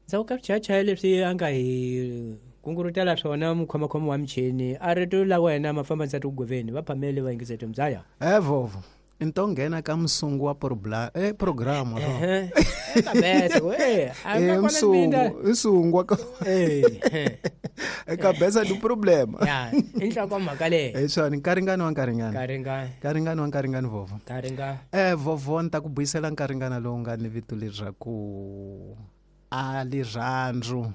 Ndzhaku ka swichayachaya leswi a nga hi kungurutela swona mukhomakhoma wa michini a rito la wena mafamba nsati ku goveni va phamele va yingisete mzaya. Vovo i to nghena ka musungu wa programa Ehe. Kabese ku a nga kona Msungu nsungu wa kabesa ndi problema. Ya, i nhlokomhaka leyi. Hi swona nkaringani wa nkaringani. Nkaringani. Nkaringani wa nkaringani vovo. Nkaringani. Vovo ni ta ku buyisela nkaringana lowu nga ni vito leswaku a lirhandzu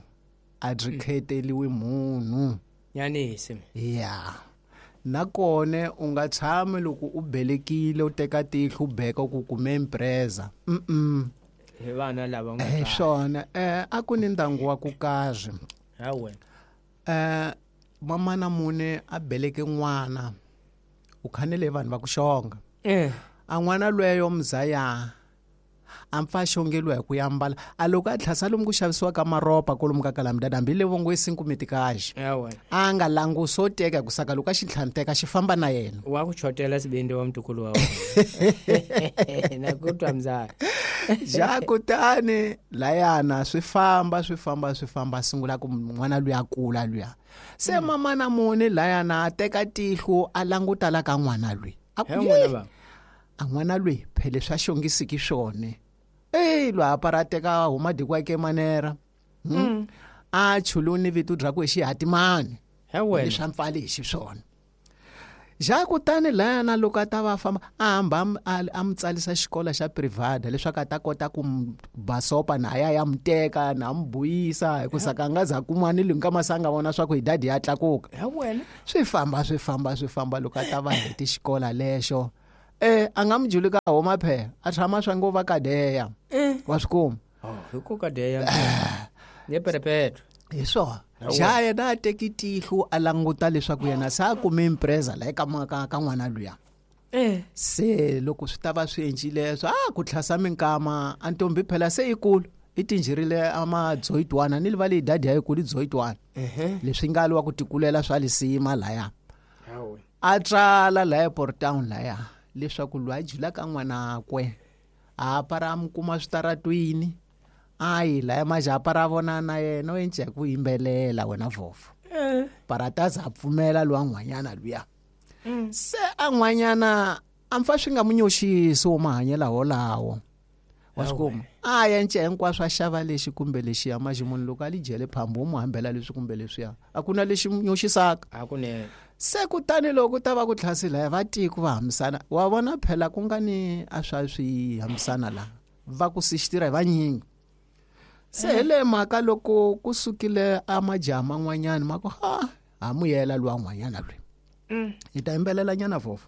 a byi kheteliwi munhu. Nyanisi. Ya. Nakone u nga tshami loko u belekile u teka tihlo u beka ku kume impreza. Hi vana lava nga Swona a ku ni ndyangu wa ku karhi. Hawe. Mamana mune a beleke n'wana. U khanele vanhu va ku xonga. A n'wana lweyo mzaya a mpfa xongeliwa hi ku yambala a loko a tlhasa lomu ku xavisiwa ka maropa kolomu ka kalamdada hambi le vongo isinkumetikaxi a nga langusi o teka ku saka loko a xi tlhanteka xi famba na yena wa ku chotela sibindi wa mtukulu wa wena na ku twa mzala ja kutani layana swi famba swi famba swi famba sungula ku n'wana luya kula luya se mamana muni layana a teka tihlo a languta la ka n'wana lwi a ku a n'wana lwi phele swa xongisiki swona lwa apara teka huma dikwake manera a chuluni vito bya ku xihatimani leswi a mpfali hi xiswona ja kutani layana loko a ta va famba a hamba a mu tsalisa xikolo xa private leswaku a ta kota ku basopa na ya ya mu teka na mu buyisa hi ku saka a nga za kuma ni lwi ka masanga vona swa ku hi dadi ya tlakuka swi famba swi famba swi famba loko a ta va heti xikolo lexo a nga mujuli ka homa phe a tshama swa ngo va kadeya wa swi kuma hi ku kadeya ne perepetro hi swona ja yena a teki tihlo a languta leswaku yena se a kume impreza la eka ka n'wana luya se loko swi ta va swi endlile swa ku tlhasa minkama a ntombi phela se yikulu i tinjirile a madzoyitwana ni livali dadi ya yikulu i dzoyitwana leswi nga liwa ku tikulela swa lisima laya a tsala laya Port Town laya leswaku loyi a julaka n'wanakwe a apara a mu kuma switaratwini a yi laya majapa ra vona na yena u enca hi ku yimbelela wena vovo parataza a pfumela lowa n'wanyana luya se a n'wanyana a mpfa swi nga mu nyoxisi wo mahanyela wolawo wa swi kuma a enca hinkwaswo a xava lexi kumbe lexiya maxi munhu loko a li jele phambu wo mu hambela leswi kumbe leswiya a ku na lexi mu nyoxisaka se kutani loko ta va ku tlhasi laya va tiko va hambisana wa vona phela ku nga ni a swa swi hambisana laha va ku sixitira hi vanyingi se hi le mhaka loko ku sukile a majaha man'wanyana ma ku ha muyela luwa n'wanyana lweyi hi ta yimbelela nyana vovo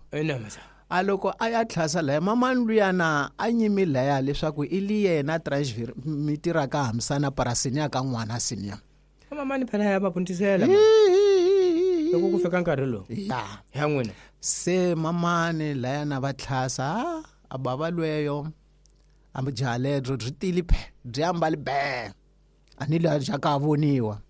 a loko a ya tlhasa laya mamani luyana a nyimi laya leswaku i li yena transmitiraka hambisana parasini ya ka n'wana siniya mamani phela ya va puntisela loko ku fika nkarhi lowu ya n'wina se mamani layana va tlhasa a bava lweyo a jaha ledro byi tili phe byi ambali be a ni laha ja ka voniwa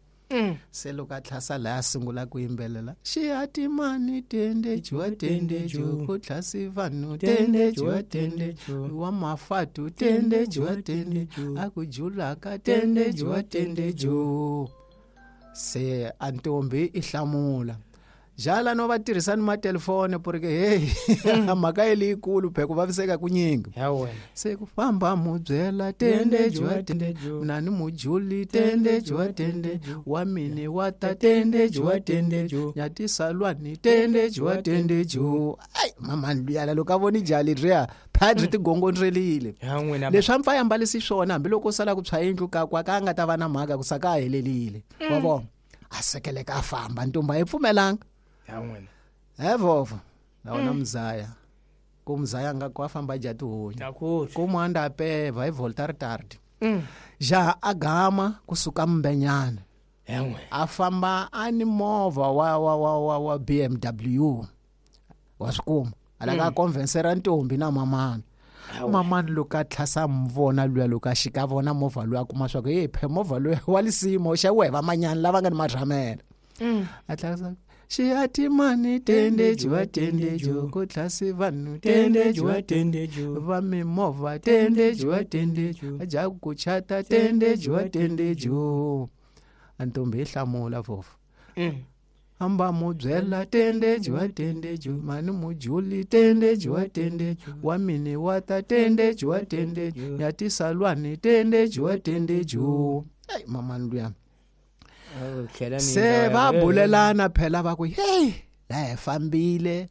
se loko a tlhasa laya sungula ku yimbelela xihatimani tendejuwa tendeju ku tlhasi vanhu tendejuwa tendeju wa mafatu tendejuwa tendeju a ku julaka tendejuwa tendeju se a ntombi i hlamula jala no va tirhisa ni matelefoni porque hey mhaka yi leyikulu phe ku vaviseka ku nyingi se ku famba mu byela tendejuwa tendeju na ni mujuli tendejuwa tendeju wa mini wa ta tendejuwa tendeju nyatisalwani tendejuwa tendeju ai mama luyala loko a voni jali riya phadri tigongondrelile leswi a mpfa yambalisi swona hambiloko u sala ku tshwa yindlu kakwa ka a nga ta va na mhaka ku saka a helelile wa vona a sekeleka a famba ntombi a yi pfumelanga vovo na wona mzaya ku mzaya nga ku a famba dya tihunyi ku mwanda a peva hi volta ri tardi jaha a gama kusuka mbenyana a famba a ni movha wa wa wa wa wa BMW wa swi kuma a lava a convincera ntombi na mamana mamani loko a tlhasa mvona luya loko a xika vona movha luya kuma swa ku hey phe movha luya wa lisimo xa wehe vamanyani lava nga ni marhamela a tlhasa Xihatimani tende jiwa tende ju ku tlhasi vanhu tende jiwa tende ju va mimovha tende jiwa tende ju ja ku chata tende jiwa tende ju. Antombi yi hlamula vovo. Amba mu byela tende jiwa tende ju mani mujuli tende jiwa tende ju wa mini wa ta tende jiwa tende ju ya tisalwani tende jiwa tende ju. Ai mama luya. Se va bulelana phela va ku hey la hi fambile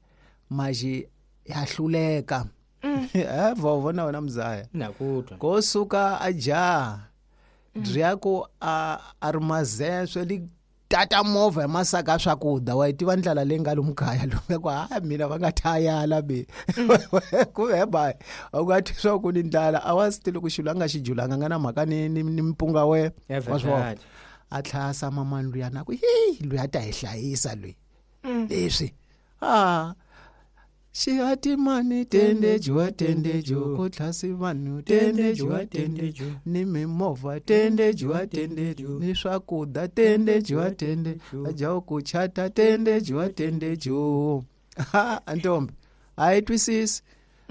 maji ya hluleka. Vovo na wena mzaya. Na ku twa. Ko suka a ja. Dryako a rumazeswe li tata movha masaka swakudya wa tiva ndlela leyi nga lomu kaya lomu ku ha mina va nga thayala be ku he ba u nga twi swa ku ni ndlala a wa swi tivi ku xilo a nga xi julanga nga na mhaka ni mpunga we wa swona. A tlhasa mamani luya na ku hi luya ta hi hlayisa loyi leswi a xihatimani tende jiwa tende ju ku tlhasi vanhu tende jiwa tende ju ni mimovha tende jiwa tende ju ni swakudya tende jiwa tende ja ku chata tende jiwa tende ju. Antombi a yi twisisi.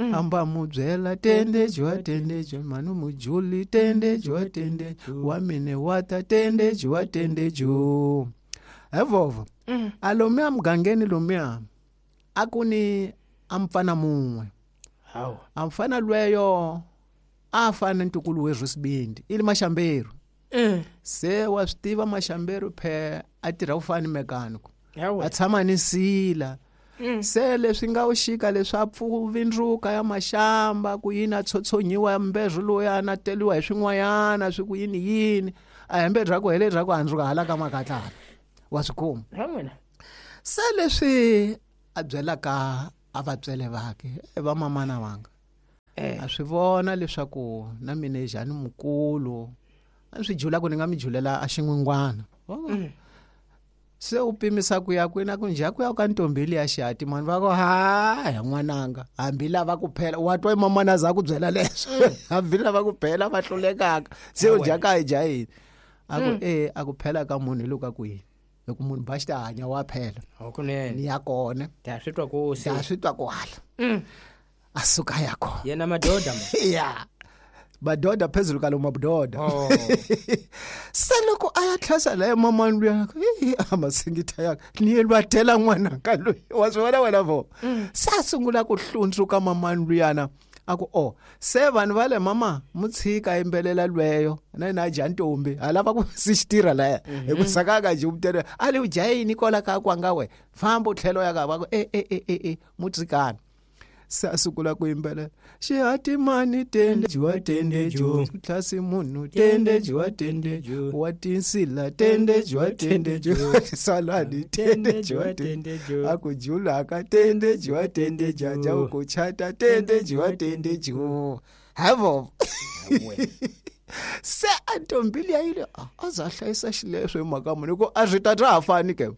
Amba mu byela tende jiwa tende ju manu mujuli tende jiwa tende wa mine wa ta tende jiwa tende ju. Evovo alomia mugangeni lomia akuni amfana munwe. Hawu. Amfana lweyo afana ntukulu wezwisibindi ili maxamberu. Se wa swi tiva maxamberu phe a tirha ku fana ni mechanic. A tshama ni sila. Se leswi nga u xika leswi a pfuvindruka ya maxamba ku yini a tshotsonyiwa mbezwo loya na teliwa hi swin'wanyana swi ku yini yini a hembe bya ku hele bya ku handzuka hala ka makatlana wa swi kuma. Se leswi a byelaka a vatswele vake va mamana vanga a swi vona leswaku na mina njhani mukulu a swi jula ku ni nga mi julela a xin'wingwana. Se u pimisa ku ya kwina ku njha ku ya ka ntombili ya xihati mani va ku ha ya n'wananga hambi lava ku phela wa twa mamana za ku byela leswo hambi lava ku phela va hlulekaka se u dya ka hi dya yini a ku a ku phela ka munhu hi loko a ku yini hi ku munhu ba xi ta hanya wa phela hakunene ni ya kona ta swi twa ku se ta swi twa ku hala a suka ya kona yena madoda ma ya madoda phezulu ka lo madoda. Se loko a ya tlhasa la mamani luya a masingita ya ni yelwa tela n'wana ka loyi wa swi vona wena vo. Se a sungula ku hlundzuka mamani luyana a ku o se vanhu va le mama mu tshika yimbelela lweyo na yena a dya ntombi ha lava ku si xitirha laya hi ku sakaka nje umtele a li u dya yini kwala ka kwanga we famba u tlhelo ya ka va ku e mu tshikana. Se a sungula ku yimbelela xihatimani tende jiwa tende ju tlhasi munhu tende jiwa tende ju wa tinsila tende jiwa tende ju saladi tende jiwa tende ju a ku julaka tende jiwa tende jaja ku chata tende jiwa tende ju havo. Se a ntombili ya yile a za hlayisa xileswo hi mhaka munhu ku a swi ta ta ha fani ke.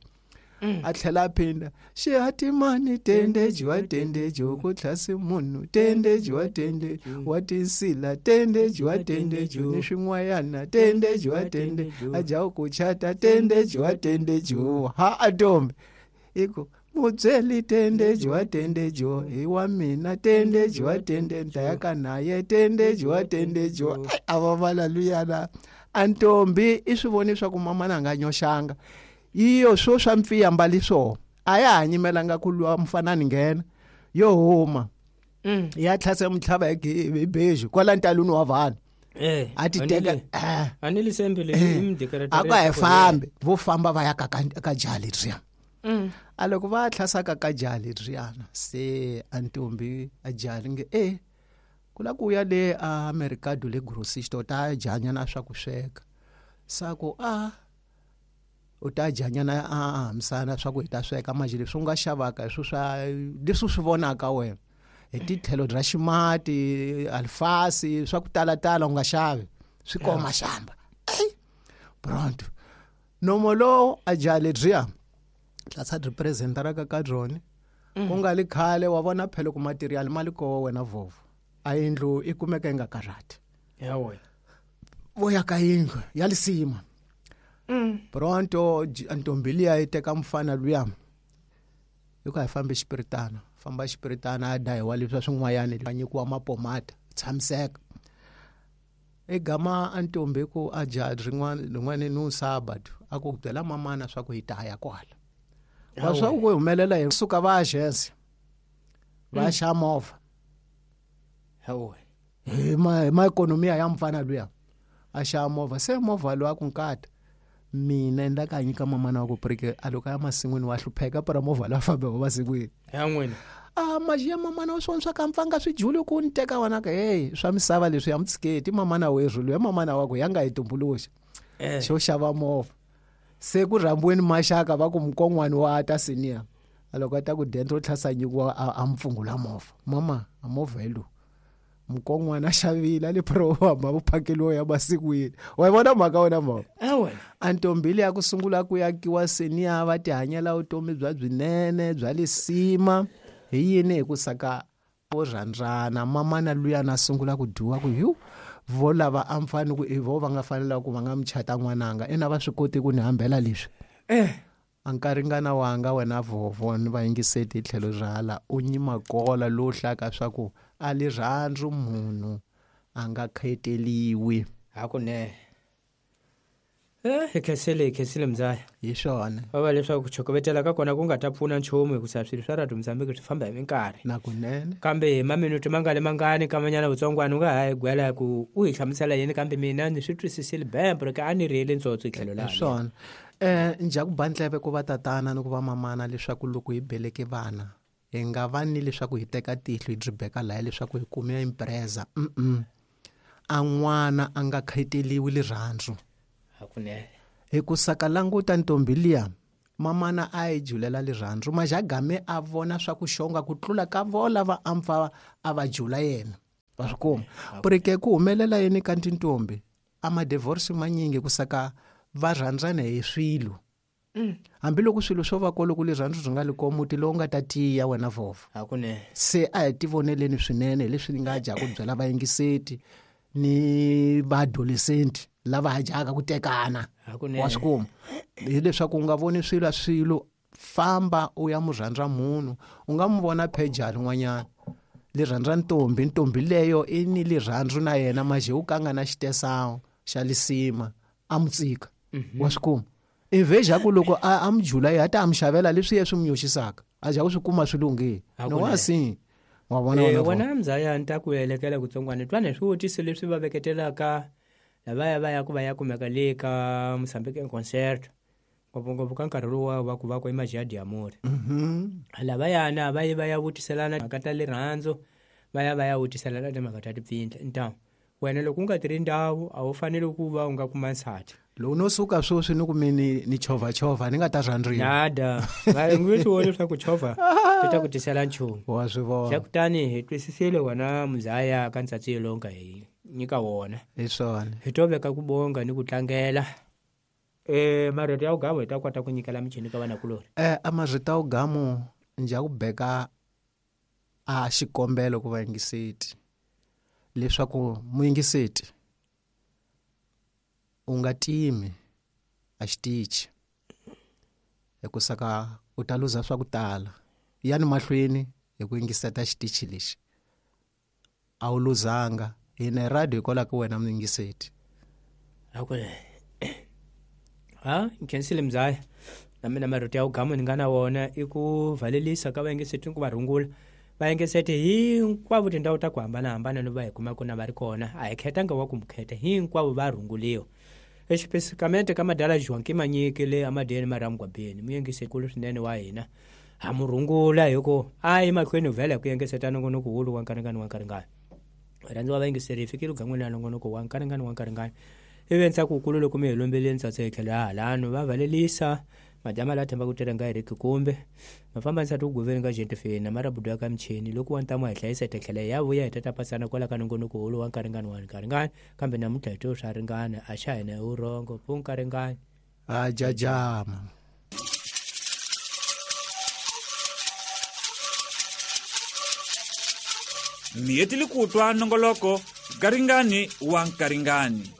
A tlhela a phinda xihatimani tende jiwa tende ju ku tlhasi munhu tende jiwa tende wa tinsila tende jiwa tende ju ni swin'wanyana tende jiwa tende a ja ku chata tende jiwa tende ju ha atombe iko mubyeli tende jiwa tende ju hi wa mina tende jiwa tende ndlaya ka naye tende jiwa tende ju a va vala luyana antombi i swi voni swa ku mamana nga nyoxanga iyo swo swa mpfiya mbali swo a ya ha nyimelanga ku lwa mfanani nghena yo huma ya tlhasa mutlhava hi beji kwala ntaluni wa vanhu a ti teka a ni lisembele imdecorator a ka hi fambi vo famba va ya ka jali riya a loko va tlhasaka ka jali riyana se antombi a jali nge ku la ku ya le a mercado le grocery ta janyana swa ku sweka sa ku a u ta janyana a hambisana swa ku hi ta sweka manje leswi u nga xavaka hi swo swa leswi swi vonaka wena hi titlhelo ra ximati alfasi swa ku talatala u nga xavi swi koma xamba pronto nomo lowu a jali dya tlasa representer ra ka drone ku nga li khale wa vona phela ku material mali ko wena vovo a yindlu i kumeka yi nga karhati ya wena vo ya ka yindlu ya lisima pronto ntombi liya yi teka mfana luya Hi ku a hi fambi xipiritana, famba xipiritana a dahiwa leswi swin'wayani va nyikiwa mapomata tshamiseka. I gama a ntombi ku a jaha rin'wana rin'wana ni sabado a ku byela mamana swa ku hi ta ya kwala. Wa swa ku humelela hi suka va agency va xa movha. Hawe. Hi ma economy ya mfana luya a xa movha se movha lowu a ku nkata mina endla ka nyika mamana wa ku prike a loko ya masin'wini wa hlupheka para movha la fambe wa masin'wini ya n'wina a majiya mamana wa swona swa ka mpfanga swi juli ku ni teka wena ka hey swa misava leswi ya mutsiketi mamana werhu luya mamana wa ku ya nga hi tumbuluxa xo xava movha se ku rhambiweni maxaka va ku mukon'wani wa ta senior a loko a ta ku dentro tlhasa nyikiwa a mpfungula movha mama a movha hi lowu mukon'wana a xavile a le prohamba vuphakeliwa ya masikwini wa yi vona mhaka wena mhaka a ntombi leyi ya ku sungula ku yakiwa senior va tihanyela vutomi bya byinene bya lisima hi yini hi ku saka vo rhandzana mamana luya na sungula ku dyiwa ku yu vo lava a mfani ku i vo va nga fanela ku va nga muchata n'wananga ina va swi koti ku ni hambela leswi a nkaringana wanga wena vovo ni vayingiseti hi tlhelo ra hala u nyimakola lowu hlaka swa ku a lirhandzu munhu a nga kheteliwi hakunene. Hi khensile mzaya hi swona va va leswaku ku chokovetela ka kona ku nga ta pfuna nchumu hikusa swilo swa radio Mozambique swi famba hi minkarhi na kunene kambe hi maminute mangani mangani kamanyana vutsongwana u nga ha hi gwela ku u hi hlamusela yini kambe mina ni swi twisisile bembo ri ka a ni rihele ntsotso hi tlhelo laha swona. Njha ku ba ndleve ku va tatana ni ku va mamana leswaku loko hi beleke vana hi nga va ni leswaku hi teka tihlo hi byi beka laya leswaku hi kume impreza a n'wana a nga kheteliwi lirhandzu hakunene hi ku saka languta ntombi liya mamana a yi julela lirhandzu majagame a vona swa ku xonga ku tlula ka vo lava a mpfa a va jula yena va swi kuma purike ku humelela yini ka tintombi a ma-divorce manyingi ku saka va rhandzana hi swilo hambiloko swilo swo va kolo ku lirhandzu byi nga li ko muti lowu nga ta tiya wena vhovho hakunene se a hi tivoneleni swinene leswi ni nga dya ku byela vayingiseti ni vaadolescent lava ha dyaka ku tekana wa swi kuma hileswaku u nga voni swilo a swilo famba u ya murhandza munhu u nga mu vona phejali n'wanyana lirhandza ntombi ntombi leyo i ni lirhandzu na yena maje u kanga na xitesawo xa lisima a mu tsika wa swi kuma iveja ku loko a mu jula ya ta mu xavela leswi ye swi mu nyoxisaka a ja ku swi kuma swi lunghile no wa si wa vona wena mzaya ni ta ku elekela kutsongwana twana swivutiso leswi va veketelaka lavaya va ya ku va ya kumeka le ka Mozambique concert ngopfungopfu ka nkarhi lowu va ku va ku i Majiadi ya Amore lavayana va yi va ya vutiselana timhaka ta rirhandzu va ya va ya vutiselana timhaka ta tipfindla ntamu wena loko u nga tirhi ndhawu a wu fanele ku va u nga kuma nsati loko no suka sweswi ni ku mi ni chovhachovha ni nga ta rhandziwa nada va nge swi voni leswaku chovha swi ta ku tisela nchumu wa swi vona xa kutani hi twisisile wena muzaya ka ntsatsi lowu nga hi nyika wona hi swona hi to veka ku bonga ni ku tlangela marito ya ugamu hi ta kota ku nyikela michini ka vanakulori a marito ya ugamu njha ku beka a xikombelo ku vayingiseti leswaku muyingiseti u nga timi a xitichi hikusaka u ta luza swa ku tala yani mahlweni hi ku yingiseta xitichi lexi a wu luzanga hina radio hikwalaho ka wena muyingiseti hakunene ha nkhensile mzaya na mina marito ya ugamu ni nga na wona i ku valelisa ka vayingiseti ni ku va rungula vayingiseti hinkwavo tindhawu ta ku hambanahambana no va hi kumaka na va ri kona a hi khetanga wa ku mu kheta hinkwavo va rhunguliwa exipesikamende ka madala Joaquim Manyiki le amadeni maramugwabeni muyingisekulu swinene wa hina ha mu rhungula hi ku a yi mahlweni vhela hi ku yengeseta nongonoko wulu wa nkaringani wa nkaringani rhandziwa vayingiseri hi fikile gan'wini ya nongonoko wa nkaringani wa nkaringani ivi ntsako wukulu loko mi hi lombeleni ntsatso hi tlhelo ya halano va valelisa majama la themba ku tirha nga Eric kumbe mafamba nsati ku goveni ka jentifeni marabudu ya ka michini loko wa ntamu hi hlayisa hi tlhela ya vuya hi tata pasana kwala ka nongonoko wulu wa nkaringani wa nkaringani kambe namuntlha hi to swa ringana a xa hina hi vurhongo pu nkaringani a jajama Mi hetile ku twa nongoloko Nkaringani wa Nkaringani.